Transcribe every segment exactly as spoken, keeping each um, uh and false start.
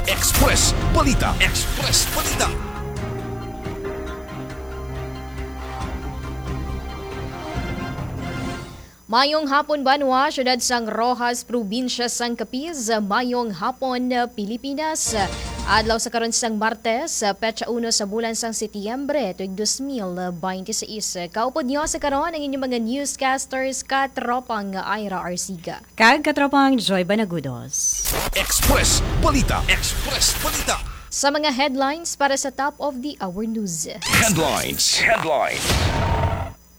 Express Balita. Express Balita. Mayong hapon, banwa, siyudad sang Roxas, probinsya sang Capiz. Mayong hapon, Pilipinas. Adlaw sa karon sang Martes, petsa uno sa bulan sang Setyembre, tuig dos mil binte seis. Kaupod niyo sa karon ang inyong mga newscasters, katropang Ira Arsiga. Kag katropang Joy Banagudos. Express Balita. Express Balita. Sa mga headlines para sa top of the hour news. Headlines. Headlines.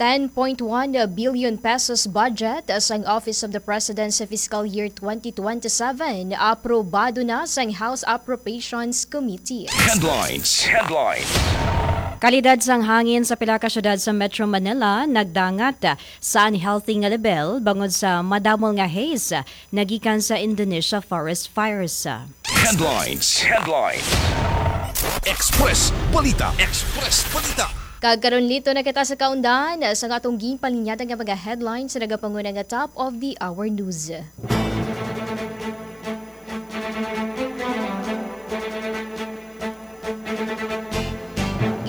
Ten point one billion pesos budget sang Office of the President sa fiscal year twenty twenty-seven aprobado na sang House Appropriations Committee. Headlines. Headlines. Kalidad sang hangin sa pila ka syudad sa Metro Manila nagdangat sa unhealthy nga level bangod sa madamol nga haze nagikan sa Indonesia forest fires. Headlines. Headlines. Express Balita. Express Balita. Kag karon, lito na kita sa kaundan sa atong ginpalinyatan nga mga headlines sa nagapanguna nga top of the hour news.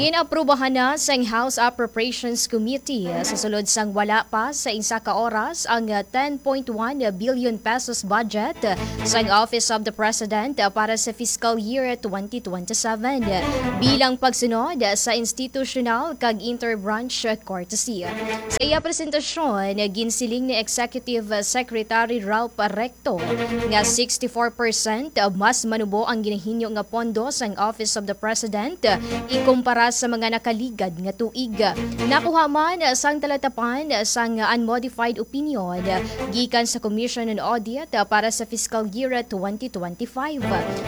Ginaprubahan na sang House Appropriations Committee sa sulod sang wala pa sa isa ka oras ang ten point one billion pesos budget sang Office of the President para sa fiscal year twenty twenty-seven bilang pagsunod sa institutional kag interbranch courtesy. Sa iya presentasyon, ginsiling ni Executive Secretary Ralph Recto nga sixty-four percent mas manubo ang ginahinyo nga pondo sang Office of the President ikumpara sa mga nakaligad nga tuig. Nakuha man sang talatapan sang unmodified opinion gikan sa Commission on Audit para sa fiscal year twenty twenty-five.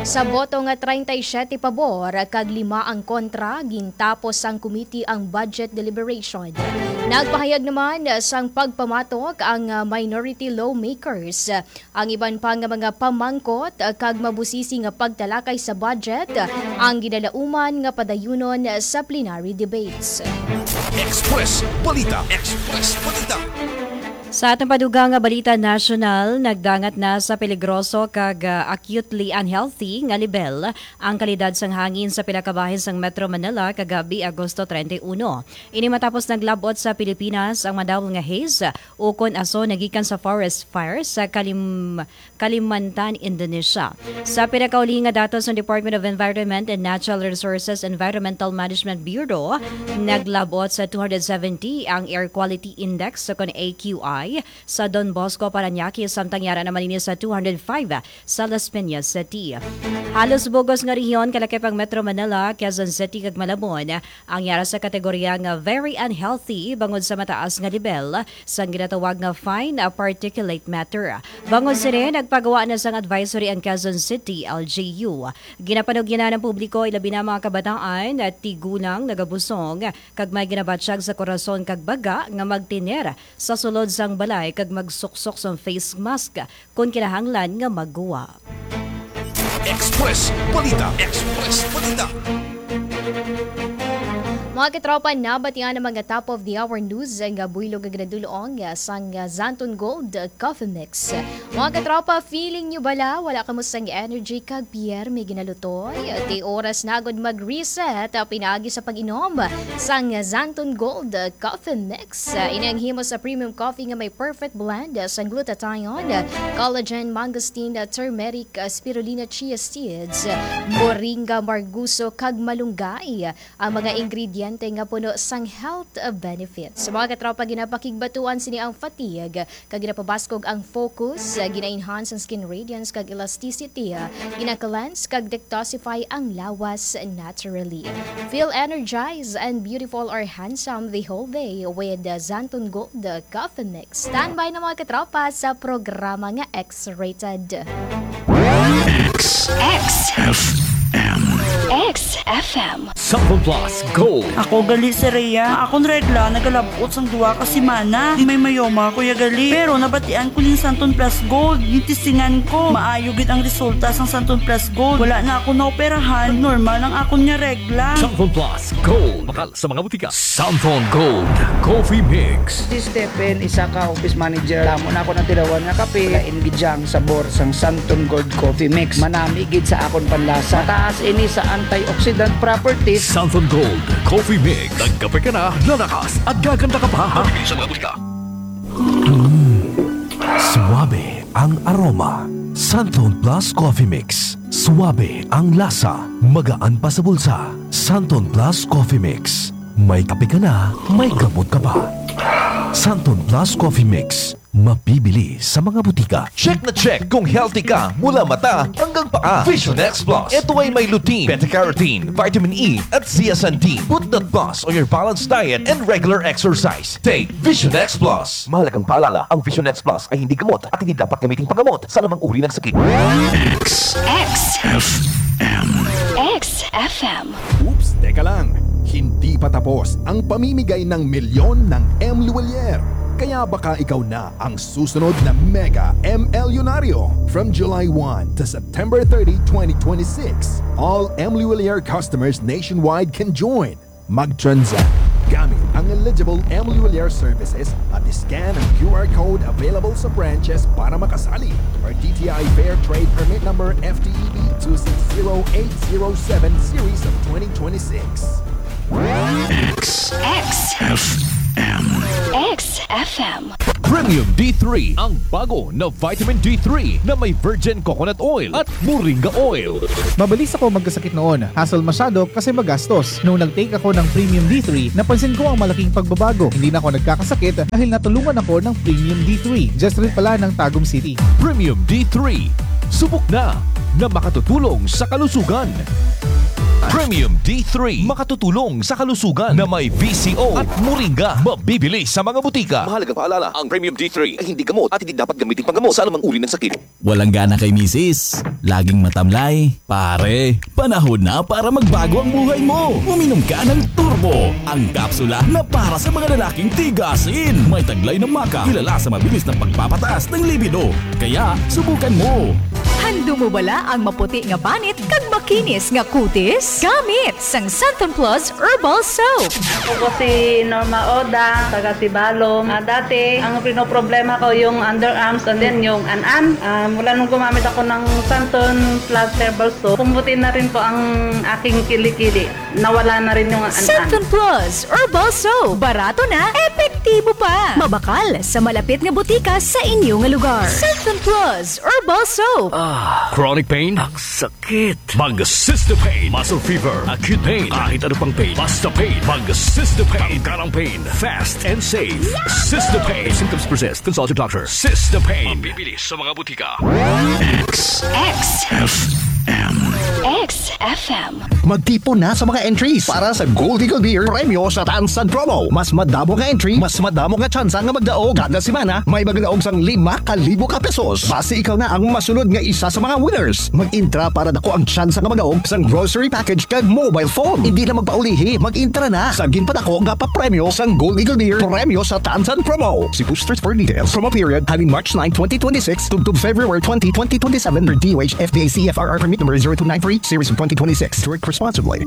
Sa boto nga treinta y siete pabor kag lima ang kontra, gintapos sang committee ang budget deliberation. Nagpahayag naman sang pagpamatok ang minority lawmakers. Ang iban pa nga mga pamangkot kag mabusisi nga pagtalakay sa budget ang ginalauman nga padayunon sa plenary debates. Express Balita. Express Balita. Sa atong padugang nga balita nasyonal, nagdangat na sa peligroso kag, ah, acutely unhealthy nga lebel ang kalidad sang hangin sa pila ka bahin sang Metro Manila kagabi, Agosto treinta y uno. Ini matapos naglab-ot sa Pilipinas ang madamol nga haze ukon aso nagikan sa forest fire sa Kalim-, Kalimantan, Indonesia. Sa pinakauli nga datos sang Department of Environment and Natural Resources Environmental Management Bureau, naglab-ot sa two hundred seventy ang Air Quality Index, ukon A Q I, sa Don Bosco, Parañaque, samtang yara naman ini sa two hundred five sa Las Piñas City. Halos bug-os nga rehiyon, kalakip ang Metro Manila, Quezon City, kag Malabon, ang yara sa kategorya nga very unhealthy bangod sa mataas nga lebel sang ginatawag nga fine particulate matter. Bangod sini, nagpagawa na sang advisory ang Quezon City L G U. Ginapanugyanan ang publiko, ilabi na mga kabataan, tigulang, nagabusong, kag may ginabatyag sa korason kag baga nga magtener sa sulod sang balay kag magsuksok sang face mask kon kinahanglan nga magguwa. Express Balita. Express Balita. Mga katropa, nabatian ang mga top of the hour news nga buylog nga ginadul-ong sang Xanthone Gold Coffee Mix. Mga katropa, feeling nyo bala wala kamo sang energy kag Pierre may ginalutoy? Ti oras na gud mag-reset, ah, pinaagi sa pag-inom sang Xanthone Gold Coffee Mix. Ah, ini ang himo sa premium coffee nga may perfect blend, ah, sang glutathione, ah, collagen, mangosteen, ah, turmeric, ah, spirulina, chia seeds, ah, moringa, marguso, kag malunggay. Ang mga ingrediente nga puno sang health, ah, benefits. Sa mga katropa, ginapakigbatuan sini ang fatigue, kag ginapabaskog ang focus, gina-enhance ang skin radiance kag elasticity, gina-cleanse kag detoxify ang lawas naturally. Feel energized and beautiful or handsome the whole day with Xanthone Gold Coffee Mix. Standby na, mga katropa, sa programa nga X-Rated. X. X. F. M. X F M. Cellphone Plus Gold. Ako gali si Rhea. Akon regla nagalabot sang duha ka semana. Di may mayoma ako ya gali. Pero nabatian ko ning Santon Plus Gold. Gitisingan ko. Maayo gid ang resulta sang Santon Plus Gold. Wala na ako naoperahan. Normal ang akon nga regla. Cellphone Plus Gold. Bakal sa mga butika. Santon Gold Coffee Mix. Si Stephen, isa ka office manager. Damo na ako natilawan nga kape. Lain gid siya ang sabor sang Santon Gold Coffee Mix. Manami gid sa akon panlasa. Mataas ini sa antioxidant properties. Santon Gold Coffee Mix. Nagkape ka na, lalakas at gaganda ka pa. Mabibili sa mga butika. Suabe ang aroma. Santon Plus Coffee Mix. Suabe ang lasa. Magaan pa sa bulsa. Santon Plus Coffee Mix. May kape ka na, may gamot ka pa. Santon Plus Coffee Mix. Mabibili sa mga butika. Check na check kung healthy ka mula mata hanggang paa. Vision X Plus. Ito ay may lutein, beta-carotene, vitamin E, at zeaxanthin. Put that plus on your balanced diet and regular exercise. Take Vision X Plus. Mahalagang paalala, ang Vision X Plus ay hindi gamot at hindi dapat gamiting panggamot sa anumang uri ng sakit. X. X F M. X F M. Oops, teka lang. Hindi pa tapos ang pamimigay ng milyon ng M Luwalier. Kaya baka ikaw na ang susunod na mega M L Yunaryo. From July one to September thirty, twenty twenty-six, all M Luwalier customers nationwide can join. Mag-transact gamit ang eligible M Luwalier services at scan ang Q R code available sa branches para makasali, or D T I Fair Trade Permit Number F T E B two six zero eight zero seven series of twenty twenty-six. X. X F M. X F M. Premium D three, ang bago na vitamin D three na may virgin coconut oil at moringa oil. Mabilis ako magkasakit noon. Hassle masyado kasi magastos. Nung nag-take ako ng Premium D three, napansin ko ang malaking pagbabago. Hindi na ako nagkakasakit dahil natulungan ako ng Premium D three. Just rin pala ng Tagum City. Premium D three. Subok na na makatutulong sa kalusugan. Premium D three, makatutulong sa kalusugan na may V C O at moringa. Mabibili sa mga butika. Mahalagang paalala, ang Premium D three ay hindi gamot at hindi dapat gamitin panggamot sa anumang uri ng sakit. Walang gana kay misis? Laging matamlay? Pare, panahon na para magbago ang buhay mo. Uminom ka ng Turbo, ang kapsula na para sa mga lalaking tigasin. May taglay na maca, kilala sa mabilis na pagpapataas ng libido. Kaya, subukan mo. Handom mo bala ang maputi nga banit kag makinis nga kutis? Gamit sang Santon Plus Herbal Soap. Ako po si Norma Oda, taga Sibalom. Ah, dati, ang pinoproblema ko yung underarms and then yung an-an. Ah, mula nung gumamit ako ng Santon Plus Herbal Soap, pumuti na rin po ang aking kilikili. Nawala na rin yung an-an. Santon Plus Herbal Soap. Barato na, epektibo pa. Mabakal sa malapit nga butika sa inyo nga lugar. Santon Plus Herbal Soap. Ah, chronic pain? Ang sakit. Mag Sister Pain. Muscle fever, acute pain, kahit ano pang pain. Basta pain. Mag Sister Pain. Tanggal ang pain. Fast and safe. Sister Pain. If symptoms persist, consult your doctor. Sister Pain. Mabibili sa mga butika. X. X F M. X F M. Magtipon na sa mga entries para sa Gold Eagle Beer Premyo sa Tansan Promo. Mas madamo nga entry, mas madamo nga tsansa nga magdaog. Kada semana, may magdaog sang lima ka libo ka pesos. Basi ikaw na ang masunod nga isa sa mga winners. Mag-intra para dako ang tsansa nga magdaog sang grocery package kag mobile phone. Hindi na magpaulihi, mag-intra na sa ginpadako nga papremyo sang Gold Eagle Beer Premyo sa Tansan Promo. See posters for details. Promo period halin March nine, twenty twenty-six, tubtob February twenty, twenty twenty-seven, per D O H F D A C F R R permit number zero two nine three, series of twenty twenty-six. Drink responsibly.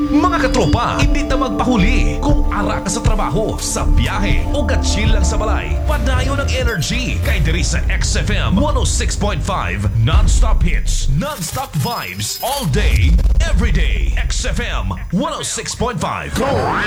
Mga katropa, hindi ta magpahuli. Kung ara ka sa trabaho, sa biyahe, o ka-chill lang sa balay, padayon ang energy. Kay diri sa X F M one oh six point five, non-stop hits, non-stop vibes, all day, every day. X F M one oh six point five. Go!